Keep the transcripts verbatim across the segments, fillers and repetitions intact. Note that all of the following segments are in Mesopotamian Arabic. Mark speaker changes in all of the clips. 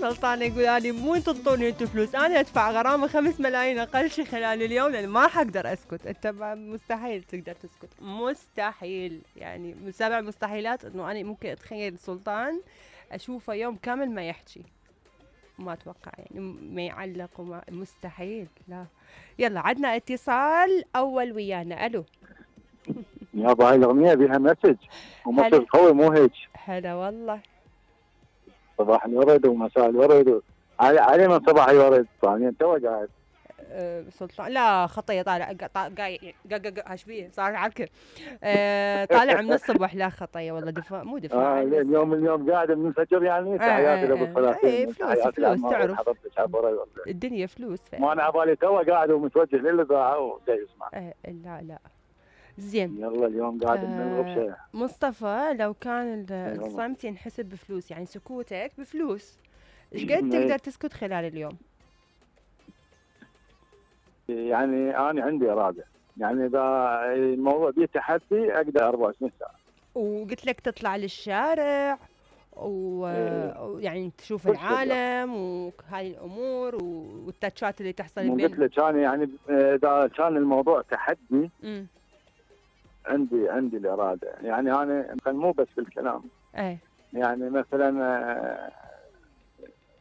Speaker 1: سلطان يقول أنا مو تنطوني انتم فلوس، انا ادفع غرامه خمس ملايين اقل شيء خلال اليوم لان ما حقدر اسكت. انت مستحيل تقدر تسكت، مستحيل. يعني من سبع مستحيلات انه انا ممكن اتخيل سلطان اشوفه يوم كامل ما يحكي، ما اتوقع يعني ما يعلق وما مستحيل. لا يلا عدنا اتصال اول ويانا. الو
Speaker 2: يابا هاي الاغنيه بيها مسج ومسج قوي مو هيك.
Speaker 1: هلا والله.
Speaker 2: صباح الورد ومساء الورد علي علي من صباح الورد ثانيا تو قاعد.
Speaker 1: أه سلطان لا خطيه طالع قايع هاش بيه صار عركه. أه طالع من الصبح. لا خطيه والله دفاع مو دفاع.
Speaker 2: آه اليوم اليوم قاعد من الفجر يعني. تحياتي لابو الفلاحين.
Speaker 1: ايه فلوس فلوس تعرف الدنيا فلوس.
Speaker 2: ما انا عبالي تو قاعد ومتوجه للاذاعه وجاي اسمع.
Speaker 1: ايه لا لا زين.
Speaker 2: يلا اليوم قاعد آه بنلغب شيء.
Speaker 1: مصطفى لو كان الصمت ينحسب بفلوس يعني سكوتك بفلوس، ايش قد تقدر تسكت خلال اليوم؟
Speaker 2: يعني انا عندي اراده، يعني اذا الموضوع بيه تحدي اقدر أربعة وعشرين ساعه.
Speaker 1: وقلت لك تطلع للشارع ويعني تشوف العالم وهاي الامور والتاتشات اللي تحصل بين.
Speaker 2: قلت لك انا يعني اذا كان الموضوع تحدي م. عندي عندي الاراده، يعني انا مو بس بالكلام.
Speaker 1: اي
Speaker 2: يعني مثلا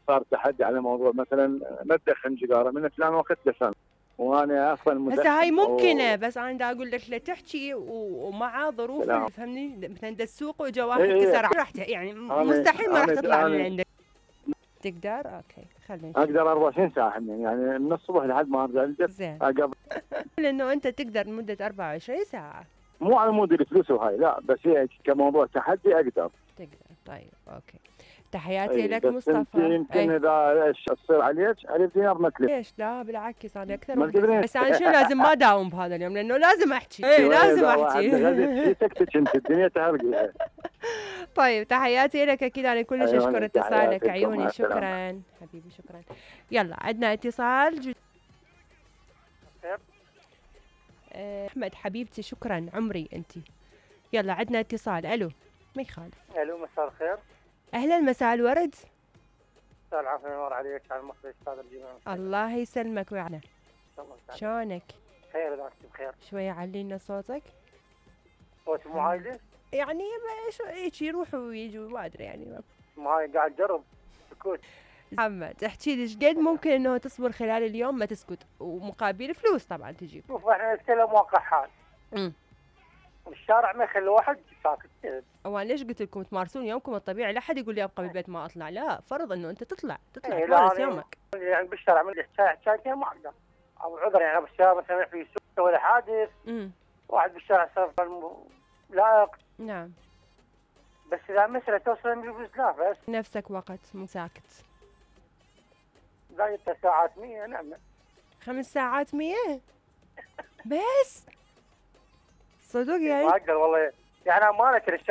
Speaker 2: صار تحدي على موضوع مثلا ما تدخن سيجاره من فلان وقت دخن وانا اصلا مدخن.
Speaker 1: هسه هاي ممكنه بس انا دا اقول لك لا تحكي ومع ظروف فهمني مثلا دا السوق وجا واحد
Speaker 2: إيه
Speaker 1: كسر راح يعني مستحيل ما راح تطلع من عندك. تقدر اوكي خلينا
Speaker 2: اقدر أربعة وعشرين ساعه يعني من الصبح لحد ما ارجع البيت.
Speaker 1: زين قبل لانه انت تقدر لمده أربعة وعشرين ساعه.
Speaker 2: مو على مود الفلوس وهاي لا، بس هي كموضوع تحدي اقدر.
Speaker 1: تقدر طيب اوكي. تحياتي لك مصطفى.
Speaker 2: يمكن أي. اذا ايش تصير عليك ألف دينار ما تلف.
Speaker 1: ليش لا بالعكس انا اكثر بس انا شو لازم ما داوم بهذا اليوم لانه لازم احكي. اي لازم احكي.
Speaker 2: سكتك انت الدنيا تهرقي.
Speaker 1: طيب تحياتي لك اكيد انا كلش اشكر اتصالك عيوني. شكرا حبيبي شكرا. يلا عندنا اتصال جد... احمد حبيبتي شكرا عمري انت. يلا عندنا اتصال. الو ما يخالف.
Speaker 3: الو مساء الخير.
Speaker 1: اهلا مساء الورد.
Speaker 3: مساء العافيه ينور عليك على المخرج استاذ الجمال.
Speaker 1: الله يسلمك ويعنا. شلونك؟
Speaker 3: خير اذا انت بخير.
Speaker 1: شويه علينا صوتك.
Speaker 3: صوتي مو عايله؟
Speaker 1: يعني هيك يروح ويجي ما ادري يعني
Speaker 3: ما هاي قاعد اجرب سكوت.
Speaker 1: محمد احكي لي ايش قد ممكن انه تصبر خلال اليوم ما تسكت ومقابل فلوس طبعا تجيب.
Speaker 3: شوف احنا نتكلم واقع حال. امم الشارع ما يخلي واحد ساكت.
Speaker 1: وانا ليش قلت لكم تمارسون يومكم الطبيعي؟ لا حد يقول لي ابقى بالبيت ما اطلع، لا فرض انه انت تطلع تطلع ايه تمارس يومك.
Speaker 3: يعني بالشارع من حكايه حكايتين ما اقدر او عذر يعني بالشارع مثلا في سوق ولا حادث. امم واحد بالشارع صار لائق.
Speaker 1: نعم
Speaker 3: بس اذا مسألة توصل للفلوس لا بس
Speaker 1: نفسك وقت مو ساكت.
Speaker 3: زايدت ساعات مية. نعم
Speaker 1: خمس ساعات مية بس صدق يعني؟
Speaker 3: ما اقدر والله يعني امانه